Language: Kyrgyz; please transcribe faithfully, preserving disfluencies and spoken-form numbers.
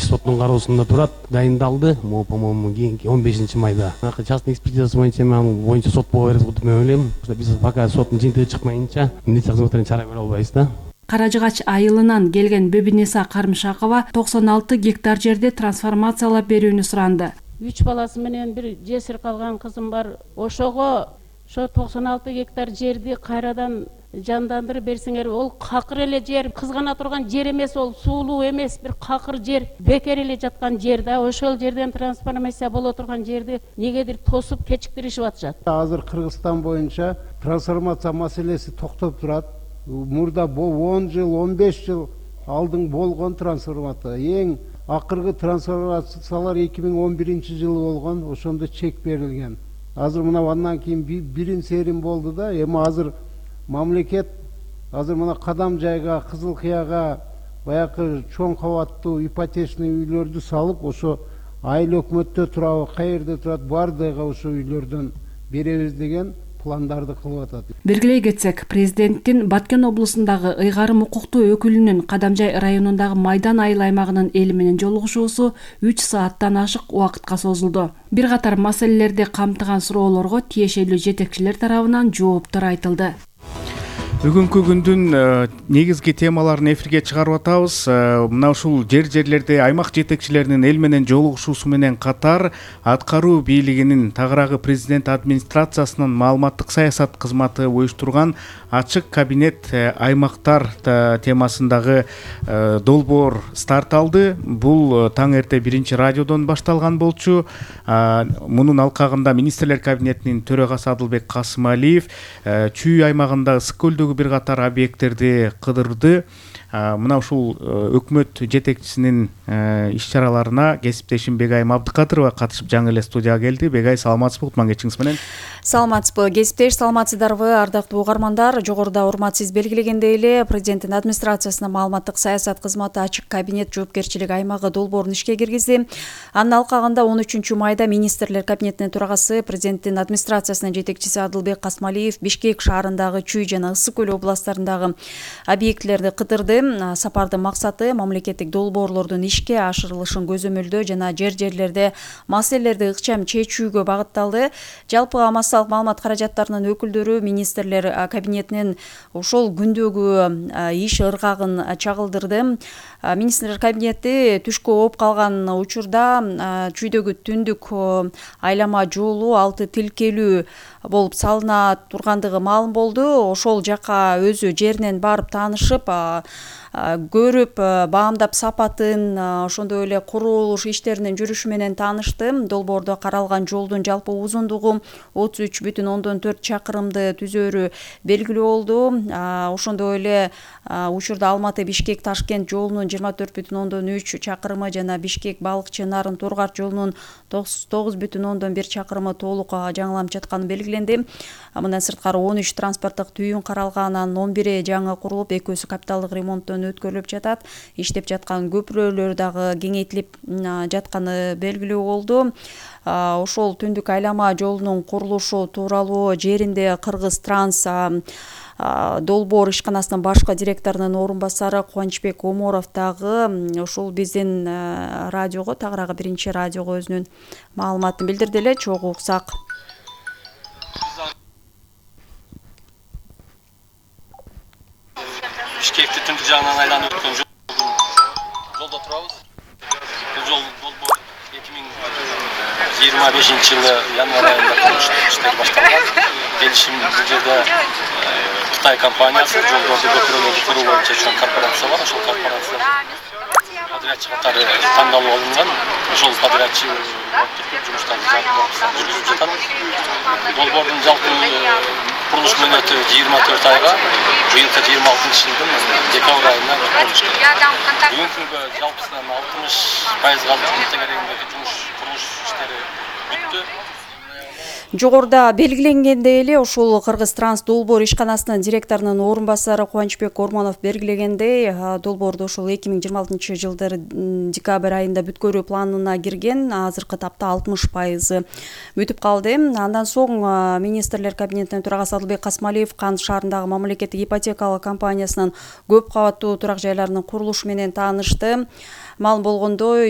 биринчи соттун кароосунда турат, дайындалды. Могу по-моему кийинки он бешинчи майда. Частный экспертизасы боюнча мен боюнча сот боло берет деп ойлойм. Биз пока соттун жыйынтыгы чыкмайынча милиция кызматынан чара көрө албайбыз да. Каражыгач айылынан келген Бебинеса Карымшакова токсон алты гектар жерде трансформациялап берүүнү суранды. Үч баласы менен бир жесир калган кызым бар. Ошого ошо токсон алты гектар жерди кайрадан жандандырып берсеңер, ол какыр эле жер, кызгана турган жер эмес, ол суулуу эмес, бир какыр жер, бекер эле жаткан жер да. Ошол жерден трансформация боло турган жерди негедир тосуп кечиктиришип атышат. Азыр Кыргызстан боюнча трансформация маселеси токтоп турат. Мурда он жыл, он беш жыл алдың болгон трансформация. Эң акыркы трансформациялар эки миң он биринчи жылы болгон, ошондо чек берилген. Азыр мына андан кийин бирин серим болду да, эми азыр мамлекет азыр мына Кадам жайга, Кызыл Кыяга баягы чоң кабаттуу ипотечный үйлөрдү салып, ошо айыл өкмөттө турабы, каерде турат, бардыгы ошо үйлөрдөн беребиз деген пландарды кылып атат. Белгилей кетсек, президенттин Баткен облусундагы ыйгарым укуктуу өкүлүнүн Кадамжай районундагы Майдан айыл аймагынын эли менен жолугушуусу үч сааттан ашык убакытка созулду. Бир катар маселелерди камтыган суроолорго тиешелүү жетекчилер тарабынан жооптор айтылды. Бүгүнкү күндүн негизги темаларын эфирге чыгарып атабыз. Мына ушул жер-жерлерде аймак жетекчилеринин эл менен жолугушуусу менен катар аткаруу бийлигинин тагыраагы президент администрациясынын маалыматтык саясат кызматы уюштурган ачык кабинет аймактар темасындагы долбоор старт алды. Бул таң эрте биринчи радиодон башталган болчу. Мунун алкагында министрлер кабинетинин төрагасы Адылбек Касымалиев Чүй аймагында ысык көлдөгү бир катар объекттерди кыдырды. Мына ушул өкмөт жетекчисинин иш-чараларына кесиптешим Бегайым Абдыкадырова катышып жаңы эле студияга келди. Бегай, саламатсызбы? Кутман кечиңиз менен. Саламатсызбы? Кесиптеш, саламатсыздарбы? Ардактуу угармандар, жогоруда урмат сиз белгилегендей эле президенттин администрациясынын маалыматтык саясат кызматы ачык кабинет жоопкерчилик аймагы долбоорун ишке киргизди. Анын алкагында он үчүнчү майда министрлер кабинетинин төрагасы, президенттин администрациясынын жетекчиси Адылбек Касымалиев Бишкек шаарындагы Чүй жана Ысык көл областтарындагы объектилерди кыдырды. Сапардын максаты мамлекеттик долбоорлордун ишке ашырылышын көзөмөлдөө жана жер-жерлерде маселелерди ыкчам чечүүгө багытталды. Жалпы массалык маалымат каражаттарынын өкүлдөрү министрлер кабинетинин ошол күндөгү иш ыргагын чагылдырды. Министрлер кабинети түшкө ооп калган учурда Чүйдөгү түндүк айлама жолу алты тилкелүү болуп салына тургандыгы маалым болду. Ошол жака өзү жеринен барып таанышып, көрүп, баамдап сапатын, ошондой эле курулуш иштеринин жүрүшү менен таанышты. Долбоордо каралган жолдун жалпы узундугу отуз үч бүтүн ондон төрт чакырымды түзөөрү белгилүү болду. Ошондой эле учурда Алматы Бишкек Ташкент жолунун жыйырма төрт бүтүн ондон үч чакырымы жана Бишкек Балыкчы Нарын Тургар жолунун тогуз бүтүн ондон бир чакырымы толук жаңыланып жатканы белгиленди. Мындан сырткары он үч транспорттук түйүн каралган, анын он бири жаңы курулуп, экөөсү капиталдык ремонттон өткөрүлүп жатат. Иштеп жаткан көпүрөлөр дагы кеңейтилип жатканы белгилүү болду. Ошол түндүк айлама жолунун курулушу тууралуу жеринде Кыргыз Транс долбоор ишканасынын башкы директорунун орун басары Кубанычбек Оморов дагы ушул биздин радиого, тагыраагы биринчи радиого өзүнүн маалыматын билдирди эле. Чогуу уксак. Бишкекти түндүк жагынан айланып өткөн жолдо турабыз. Бул жол долбоор эки миң жыйырма бешинчи жылы январь айында курулуш иштери башталган. Келишим бул жерде Кытай компаниясы жолдорду көпүрөлөрдү куруу боюнча чоң корпорация бар. Ошол корпорация подрядчы катары тандалып алынган. Ошол подрядчы жумуштарды жүргүзүп жатат. Долбоордун жалпы курулуш мөөнөтү жыйырма төрт айга, быйылкы жыйырма алтынчы жылдын декабрь айында өткөрүлгөн. Бүгүнкү күнгө жалпысынан алтымыш пайызга тегерегиндеги жумуш курулуш иштери бүттү. Жогоруда белгиленгендей эле ушул Кыргыз Транс долбоор ишканасынын директорунун орун басары Кубанычбек Ормонов белгилегендей, долбоорду ушул эки миң жыйырма алтынчы жылдын декабрь айында бүткөрүү планына кирген. Азыркы тапта алтымыш пайызы бүтүп калды. Андан соң министрлер кабинетинин төрагасы Адылбек Касымалиев Кан шаарындагы мамлекеттик ипотекалык компаниясынын көп кабаттуу турак жайларынын курулушу менен таанышты. Маалым болгондой,